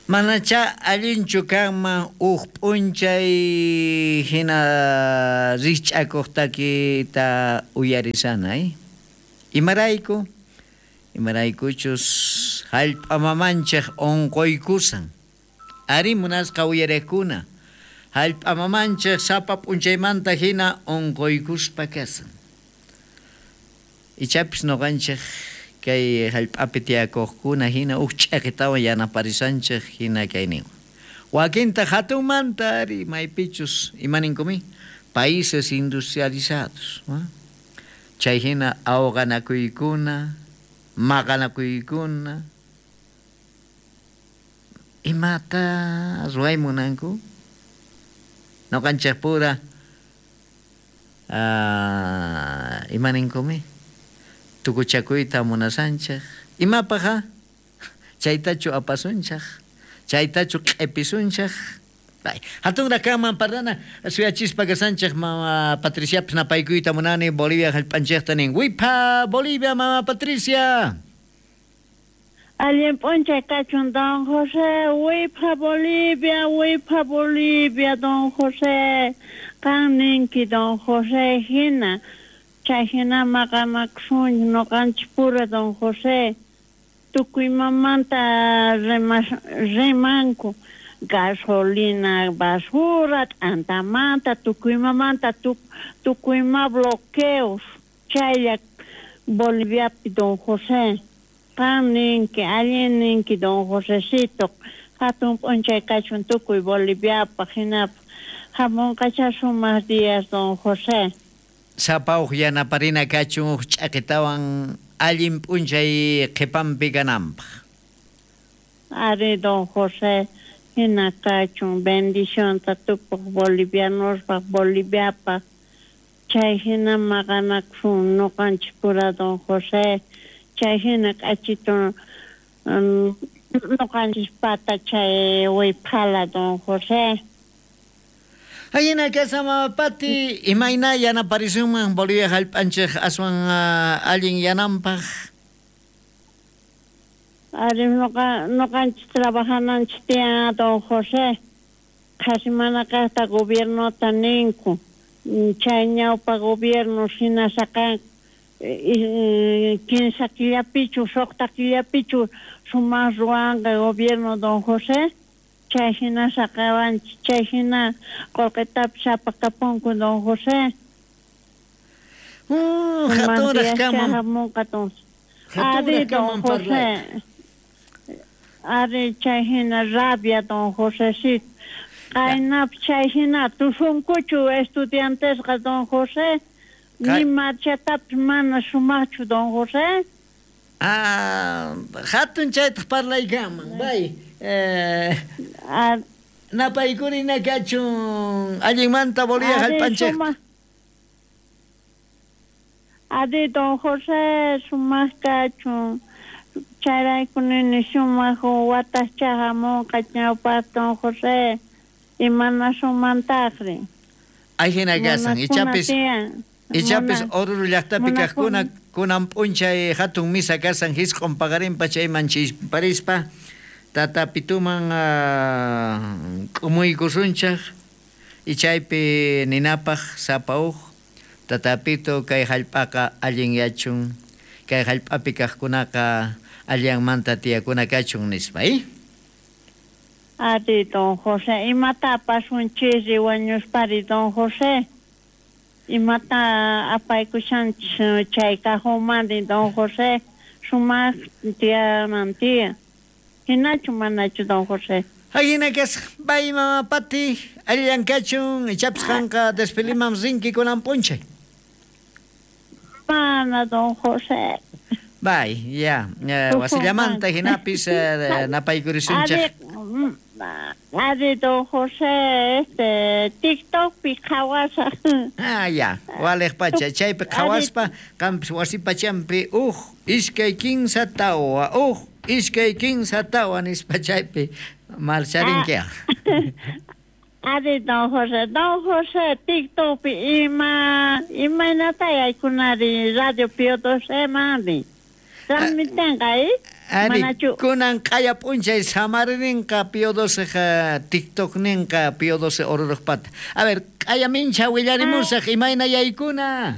Manacha allinchu kanman uj p'unchay hina rikch'akuq takita uyarisana, Imarayku? Imaraykuchus hallp'a mamanchik unquykusan. Arí, munasqa uyariqkuna, hallp'a mamanchik sapa p'unchaymanta hina unquykuspa kasan. Ichapis nuqanchik kay hallp'api tiyakuqkuna hina uj ch'iqitawan yanaparisanchik hina kayninwan. Wakintaq hatunmanta ari maypichus imaninkumi países industrializados, chay hina awqanakuykuna, maqanakuykuna, imata ruway munanku? Nuqanchikpura imaninkumi tukuchakuyta munasanchik. Imapaq a? Chaytachu apasunchik? Chaytachu q'ipisunchik? Hatunraq kanman parlana suyachispa kasanchik mama Patriciapis napaykuyta munani Bolivia hallp'anchikta nin. Wipha Bolivia mama Patricia! Allin p'unchay kachun don José, wipha Bolivia, wipha Bolivia don José, qan ninki don José hina, chay hina maqanakusunchik nuqanchik pura don José, tukuy imamanta rimanku, gasolina basura, t'antamanta, tukuy imamanta, tukuy ima bloqueos, chaylla Boliviapi don José. Qan ninki, allin ninki don Josecito, hatun p'unchay kachun tukuy Boliviapaq, hinapaq hamunqachá sumaq días don José. Sapa uj yanaparina kachun uj ch'aqitawan allin p'unchay qhipanpi kananpaq. Arí don José, hina kachun, bendicionta tukuq bolivianospaq, Boliviapaq, chay hina maqanakusun nuqanchik pura don José, chay hina k'achitu nuqanchis pata chay wiphala don José. Ajina kashan mama Pati, imayna yanaparisunman Bolivia hallp'anchik aswan allin yananpaq? Ari nuqanchis trabajananchis tiyan don José, qhasi mana kaqta gobiernota ninku, chay ñawpa gobierno hina saqanku kinsa killapichu suqta killapichu sumaq ruwanqa gobierno don José, chay hina saqewanchik, chay hina qullqitapis apakapunku don José. Hatunraq kanman. Hamunqa don Ari don José. Ari chay hina rabia don Josecito. Qaynapis chay hina tusunkuchu estudiantesqa don José. Ni marchatapis mana sumaqchu don José. Ah, hatun chaytaq parlaykanman. Bay. Napaykurina kachun allinmanta Bolivia hallp'anchikta. Ari don José sumaq kachun. Chayrayku nini sumaq wataqchá hamunqa ñawpaq don José. Imanasumantaqri. Ajina kasan, ichapis ichapis Oruro llaqtapi kaqkuna kunan p'unchay hatun misa kasan hisq'un paqarinpa chayman chisparispa tata Pituman k'umuykusunchik y chaypi ninapaq sapa uj tata Pitu kay hallp'aqa allinyachun kay hallp'api kaqkunaqa allanmanta tiyakuna kachun nispa. Ari don José, imata apasunchikri wañuspari don José? Imata apaykushanchik chay cajonmanri don José? Sumaq tiyanan tiyan. Hinachu manachu don José? Ajina kasqa, bay mama Pati, allillan kachun, ichapis qanqa desfiliman rinki kunan p'unchay. Mana don José. Bay, ya, wasillamanta hinapis napaykurishunchik. Ari don José, este TikTokpi qhawasaq. Ah, ya, waliq pacha, chaypi qhawaspa, qampis wasi pachampi uj, iskay, kinsa, tawa, uj, iskay, kinsa, tawa nispa chaypi marcharinki. Ari don José, don José, TikTokpi ima, imaynata yaykunari Radio Pío XII manri. Transmitenqa, Ari, kunan q'aya p'unchay samarininqa Pío XII TikTokninqa Pío XII Ororojpata. A ver, q'aya mincha willarimusaq imayna yaykuna.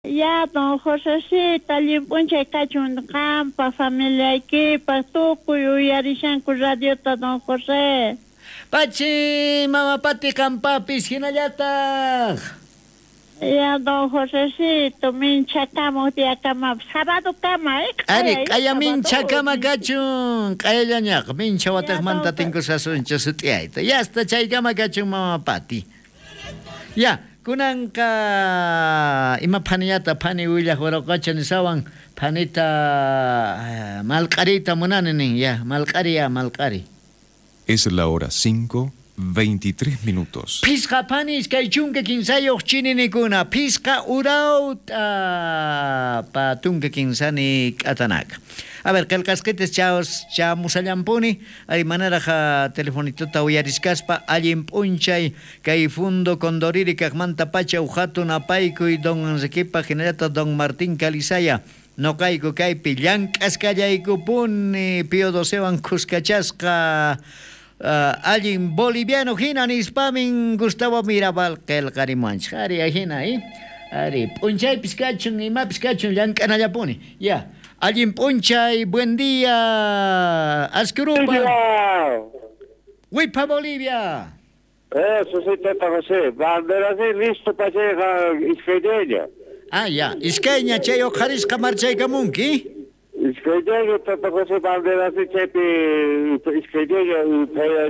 Ya, don Josecito, allin p'unchay kachun qampa familiaykipaq tukuy uyarishanku radiota don José. Pachi, mama Pati qampapis hinallataq. Ya, don Josecito, minchakamuq diyakamapas sabadokama, eh? Ari, q'aya minchakama kachun, q'ayallañaqa mincha wataqmanta tinkusasunchik sut'iyayta. Yasta chaykama kachun mama Pati. Ya, kunanqa ima phanillata phani willaq waraqacha nisawan phanita malq'ariyta munani nin, ya, malq'ari ya, malq'ari. Es la hora 5:23 minutos. Phisqa phani 23 chininikuna, phisqa urawta patunka kinsani k'atanaka. A ver, qillqasqitas chamusallampuni, ay manaraj telefonituta uyariskaspa allin p'unchay kay fundo Condoriri kaqmanta pacha uhatun apaykuy don Enriquepa hinallataq don Martín Calizaya. Noqayku kaypi llank'askallaykupuni Pío XIIwan khuskachasqa allin boliviano hina nispamin Gustavo Mirabal qillqarimuwanchik. Ari hina, Ari p'unchaypis kachun imapis kachun llank'anallapuni. Ya, allin p'unchay, buen día, Ascurupa. Wipa Bolivia. Eso sí, Tata José, bandera sí, listo para llegar iskayña. Ah, ya, iskayña chay uqharisqa marchaykamunki. Iskayña Tata José bandera sí chaypi iskayña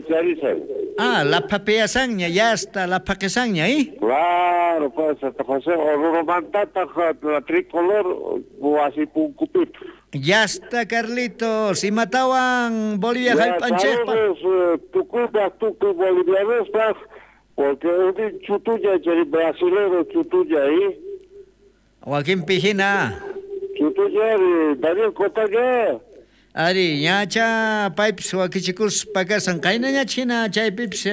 charisay. Ah, la papeasanña, ya está la paquesanña, ¿eh? Claro, pues Tata José, orurumantata la tricolor wasi punkupip. Ya está, Carlitos, y matawan Bolivia jallp'anchikpa. Tukuypaq tukuy bolivianospaq, porque unin chutuña chay brasilero chutuña, ¿eh? Wakinpi hina. Chutuña, Daniel Cotaña. Ari, ñacha paypis wakichikuspa kasan, qaynañach hina chaypipis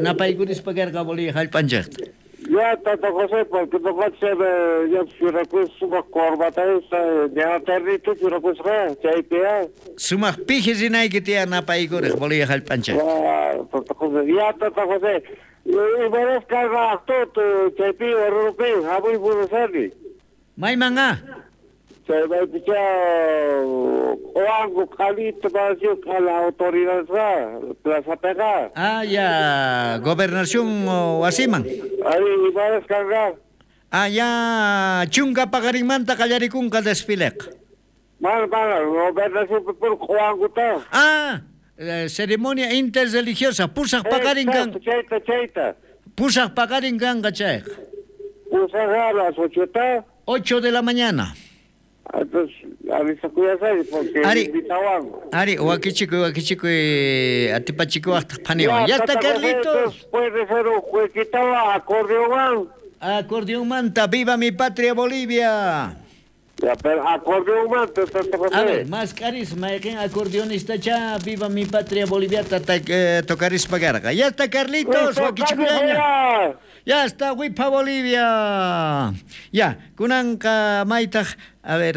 napaykurispa karqa Bolivia jallp'anchikta. Ya, Tata José, porque noqanchik ya churakus sumaq corbata esa, ña ternito churakusqa, chaypi ya. Sumaq piji rinayki tiyan napaykuriq Bolivia jallp'anchikta. Ya, Tata José, ya, Tata José, imaras karqa aqtut chaypi Oruropi, hamuy munasani. Mayman a? Chay maypicha Oango, Calito, Barrio, a la autoridad, Plaza Pega. Ah, ya, gobernación wasiman. Ahí, imaras karqa. Ah, ya, chunka paqarinmanta qallarikunqa desfileqa. Mana, mana, gobernación por Oanguta. Ah, ceremonia interreligiosa, pusaq paqarin kan. Chayta, chayta. Pusaq paqarin kanqa chayqa. Pusaq a las 8. 8 de la mañana. Entonces, avisakuyasay porque Ari, invitawan. Ari, wakichikuy, atipachikuwaqtaq phaniwan. Ya está, Carlitos. Puede ser un jueguito acordeón. Acordeonmanta, viva mi patria Bolivia. Ya, pero acordeonmanta, Tata José. A ver, más carisma, acordeonista cha, viva mi patria Bolivia, tocarispa karqa. Ya está, Carlitos, wakichikuyllaña. Ya está, Wipa Bolivia. Ya, kunanqa maytaq, a ver,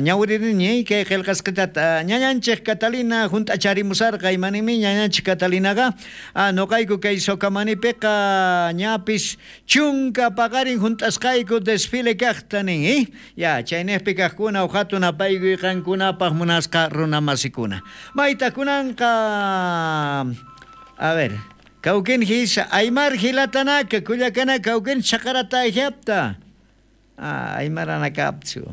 ñawiririni, kay qillqasqitata, ñañanchik Catalina hunt'acharimusarqa, imanimi ñañanchik Catalinaqa, noqayku kay Sokamanipiqa ñapis chunka paqarin hunt'asqayku desfile kaqta nin, eh? Ya, chayniqpi kaqkuna uqhatun apaykuy qankunapaq munasqa runamasikuna. Maytaq kunanqa, a ver, Cauquén hisa, Aymar hilatanaka, Culiacana, Cauquén chaqarata ejapta. Ah, Aymarana kapchu.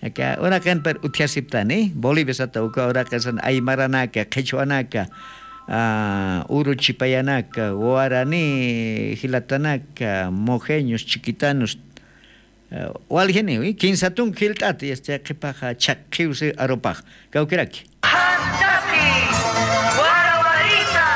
Acá, urakan per uthiasiptani, Bolivia sata uka urakan Aymaranaka, Quechuanaka, Uruchipayanaka, Guaraní, Hilatanaka, Mojeños, Chiquitanos, Walgeni, kinsatun hilt'ati, este qipaqa chaqqiwsi aropaq. Cauqueraki.